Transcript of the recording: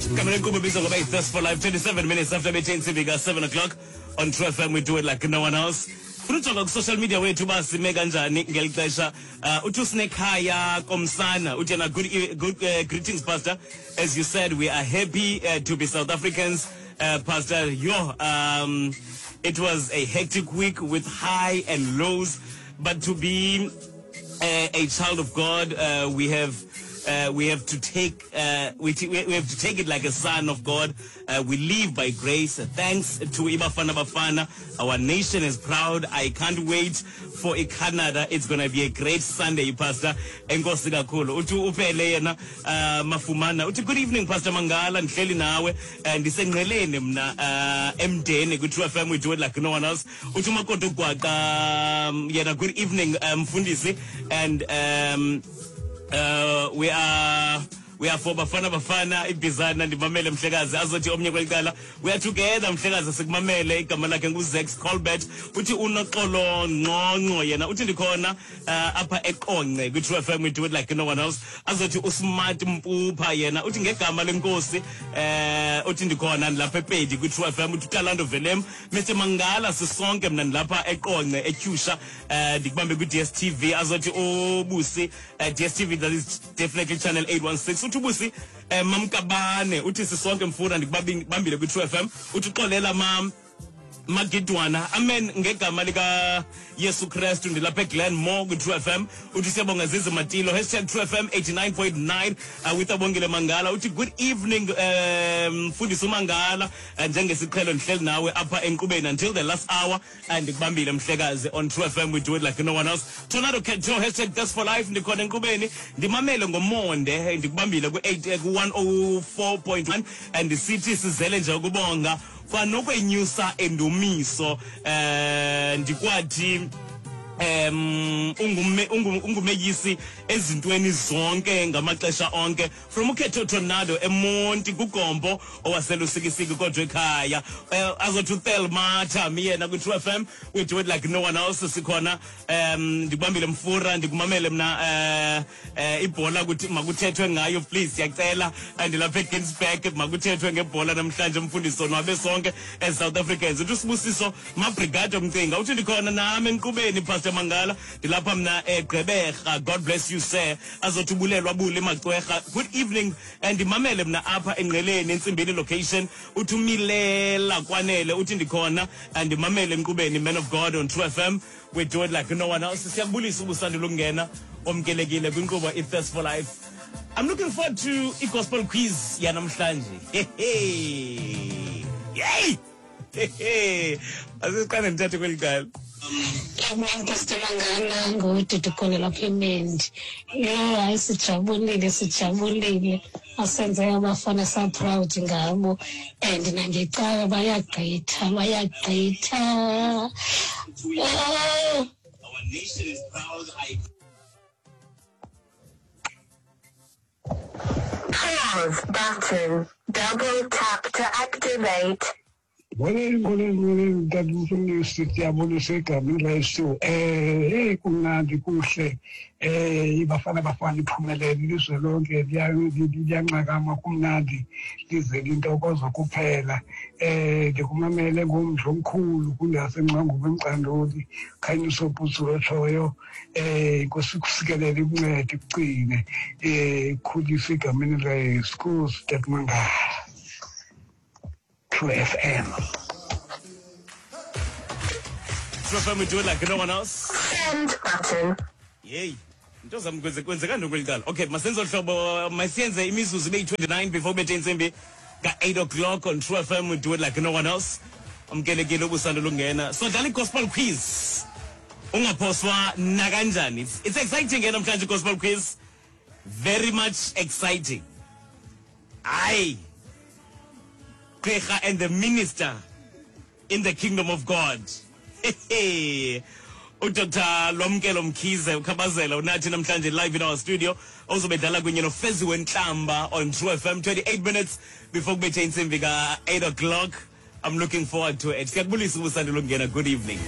Igama lenkqubo ibizwa ngoba yi-Thirst for Life, 27 minutes after bethe intsimbi ka-7 o'clock on True FM. We do it like no one else. Funa ujonga ku-social media wethu uba sime kanjani ngeli xesha. Uthi usinekhaya komsana uthi yena good, e- good greetings, Pastor. As you said, we are happy to be South Africans. Pastor, yo, it was a hectic week with high and lows, but to be a child of God, we have to take we have to take it like a son of God. We live by grace. Thanks to Ibafana Bafana, our nation is proud. I can't wait for Canada. It's gonna be a great Sunday, Pastor. Enkosi kakhulu. Uthi uphele yena Mafumana. Uthi good evening, Pastor Mangala. Ndihleli nawe. Ndisengqeleni mna emdeni ku True FM. We do it like no one else. Uthi umakoti ugwaqa yena good evening, mfundisi, and we are for Bafana Bafana ibizana. Ndimamele, mhlekazi. Azothi omnye kwelicala, we are together, mhlekazi, sikumamele. Igama lakhe nguZex Colbert. Uthi unoxolo Ngqongqo yena uthi ndikhona apha eQonce kwi-True FM. We do it like no one else. Azothi uSmart Mpupha yena uthi ngegama lenkosi, uthi ndikhona ndilapha ePedi kwi-True FM. Uthi uTalando Velem, Mr Mangala, sisonke, mna ndilapha eQonce eTyusha, ndikubambe kwi-DStv. Azothi ubusi, DStv, that is definitely channel 816. Uthi ubusi, Mamkabane, uthi sisonke mfuna, ndikubambile kwi-True FM. Uthi uxolela mam Magidwana, amen, ngegama lika Yesu Kristu, ndilapha eGlenmore kwi-True FM. Uthi siyabonga Zizi Matilo, #TrueFM 89.9 with Abongile Mangala. Uthi good evening, mfundisi uMangala, njengesiqhelo ndihleli nawe apha enkqubeni until the last hour, and ndikubambile, mhlekazi, on True FM. We do it like no one else. Tornado Keto, #ThirstForLife, ndikhona enkqubeni, ndimamele ngomonde, ndikubambile ku-8 ku-104.1, and sithi sizele nje ukubonga kwanokwenyusa endumiso, ndikwathi ungumeyisi ezintweni zonke ngamaxesha onke. From ukhetho Tornado eMonti kuGompo owaseLusikisiki kodwa ekhaya. Azothi uThelma Thami yena kwi-True FM, we do it like no one else. Sikhona, ndikubambile mfura, ndikumamele mna, ibhola kuthi makuthethwe ngayo, please, siyacela. Ndilapha eGinsberg, makuthethwe ngebhola namhlanje, mfundisi, sonwabe sonke as South Africans. Uthi uSibusiso Mabrigado Mcinga, uthi ndikhona nami enkqubeni, Pastor Mangala, ndilapha mna eGqeberha. God bless you, sir. Azothi ubulelwa bule Macwerha, good evening, ndimamele mna apha engqeleni eNtsimbini location. Uthi umilela Kwanele, uthi ndikhona, ndimamele enkqubeni, man of God, on True FM. We do it like no one else. Siyakubulisa ubusandula ukungena, omkelekile kwinkqubo i-Thirst for Life. I'm looking forward to i-gospel quiz yanamhlanje. Hey hey, asiqale ndithathe kweli cala. Yabona, Pastor Mangala, nguDudu khona lapha eMendi. Yho, hayi, sijabulile, sijabulile. Asenze abafana sa-proud ngabo and nangecawa bayagqitha, bayagqitha. Oh. Our nation is proud. I Pause button. Double tap to activate. Molweni, molweni, molweni, mntana mfundisi, ndiyabulisa egameni laYesu. Hey, kumnandi, kuhle. IBafana Bafana iphumelele, ilizwe lonke liyanxakama, kumnandi, lize lintokozo kuphela. Ndikumamele ngomdla omkhulu kundaseNgcwangubo eMcandoli, Khanyiso Putsu otshoyo. Inkosi ikusikelele, ikuncede, ikucine, ikhulise egameni laYesu. Nkosi Tata Mangala. True FM. True FM, we do it like no one else. Send button. Yey. Into zam kwenzeka ntoni kweli cala? Okay, masenze hlobo, masiyenze imizuzu ibe yi-29 before bethe intsimbi ka-8 o'clock on True FM. We do it like no one else. Amkelekile ubusando lungena. So dlala i-gospel quiz. Ungaphoswa nakanjani. It's exciting ke namhlanje gospel quiz. Very much exciting. Aye. Gqirha and the minister in the kingdom of God. UDr Lwamkelo Mkhize ukhabazela unathi namhlanje live in our studio, ozobe dlala kunye noFezi Wentlamba on True FM, 28 minutes before kubethe intsimbi ka-8 o'clock. I'm looking forward to it. Siyakubulisa ubusandula ukungena. Good evening.